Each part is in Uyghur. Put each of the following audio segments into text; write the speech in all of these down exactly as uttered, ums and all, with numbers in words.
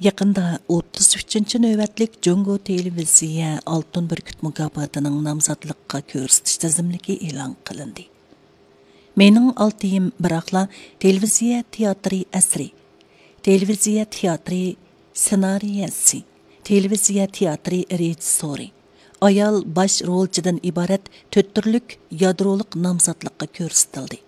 يېقىندا ئوتتۇز ئۈچىنچى نۆۋەتلىك جۇڭگو تېلېۋىزىيە ئالتۇن بۈركۈت مۇكاپاتىنىڭ نامزاتلىققا كۆرسىتىش تىزىملىكى ئېلان قىلىندى. مېنىڭ ئالتىيىم بىراقلا تېلېۋىزىيە تىياتىرى ئەسىرى، تېلېۋىزىيە تىياتىرى سېنارىيەسى، تېلېۋىزىيە تىياتىرى رېژىسسورى، ئايال باش رولچىدىن ئىبارەت تۆت تۈرلۈك يادرولۇق نامزاتلىققا كۆرسىتىلدى.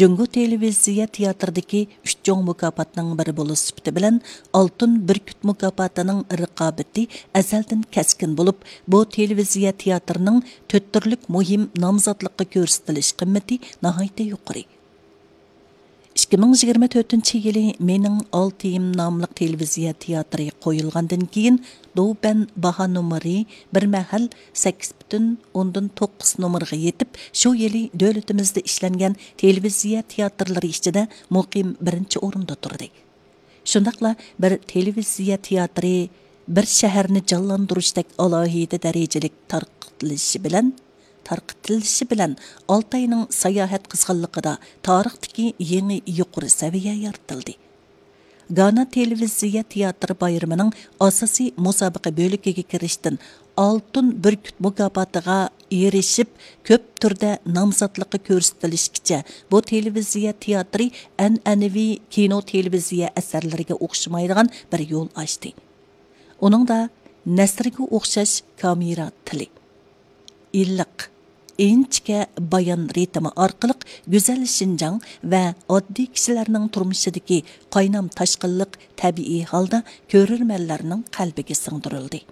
جۇڭگو تېلېۋىزىيە تىياتىرىدىكى ئۈچ چوڭ مۇكاپاتنىڭ بىرى بولۇش سۈپىتى بىلەن ئالتۇن بۈركۈت مۇكاپاتىنىڭ رىقابىتى ئەزەلدىن كەسكىن بولۇپ، بۇ تېلېۋىزىيە تىياتىرىنىڭ تۆت تۈرلۈك مۇھىم نامزاتلىققا كۆرسىتىلىش قىممىتى ناھايىتى يۇقىرى. ئىككى مىڭ يىگىرمە تۆتىنچى يىلى مېنىڭ ئالتىيىم ناملىق تېلېۋىزىيە تىياتىرى قويۇلغاندىن كېيىن، دوبەن باھا نومۇرى بىر مەھەل سەككىز پۈتۈن ئوندىن توققۇز نومۇرغا يېتىپ، شۇ يىلى دۆلىتىمىزدە ئىشلەنگەن تېلېۋىزىيە تىياتىرلىرى ئىچىدە مۇقىم بىرىنچى ئورۇندا تۇردى. شۇنداقلا بىر تېلېۋىزىيە تىياتىرى بىر شەھەرنى جانلاندۇرۇشتەك ئالاھىدە دەرىجىلىك تارقىتىلىشى بىلەن، تارقىتىلىشى بىلەن ئالتاينىڭ ساياھەت قىزغىنلىقىدا تارىختىكى يېڭى يۇقىرى سەۋىيە يارىتىلدى. گانا تېلېۋىزىيە تىياتىر بايرىمىنىڭ ئاساسىي مۇسابىقە بۆلىكىگە كىرىشتىن ئالتۇن بۈركۈت مۇكاپاتىغا ئېرىشىپ، كۆپ تۈردە نامزاتلىققا كۆرسىتىلىشكىچە، بۇ تېلېۋىزىيە تىياتىرى ئەنئەنىۋى كىنو تېلېۋىزىيە ئەسەرلىرىگە ئوخشىمايدىغان بىر يول ئاچتى. ئۇنىڭدا نەسرگە ئوخشاش كامېرا تىلى، ئىللىق، ئىنچىكە بايان رىتىمى ئارقىلىق گۈزەل شىنجاڭ ۋە ئاددىي كىشىلەرنىڭ تۇرمۇشىدىكى قاينام تاشقىنلىق تەبىئىي ھالدا كۆرۈرمەنلەرنىڭ قەلبىگە سىڭدۈرۈلدى.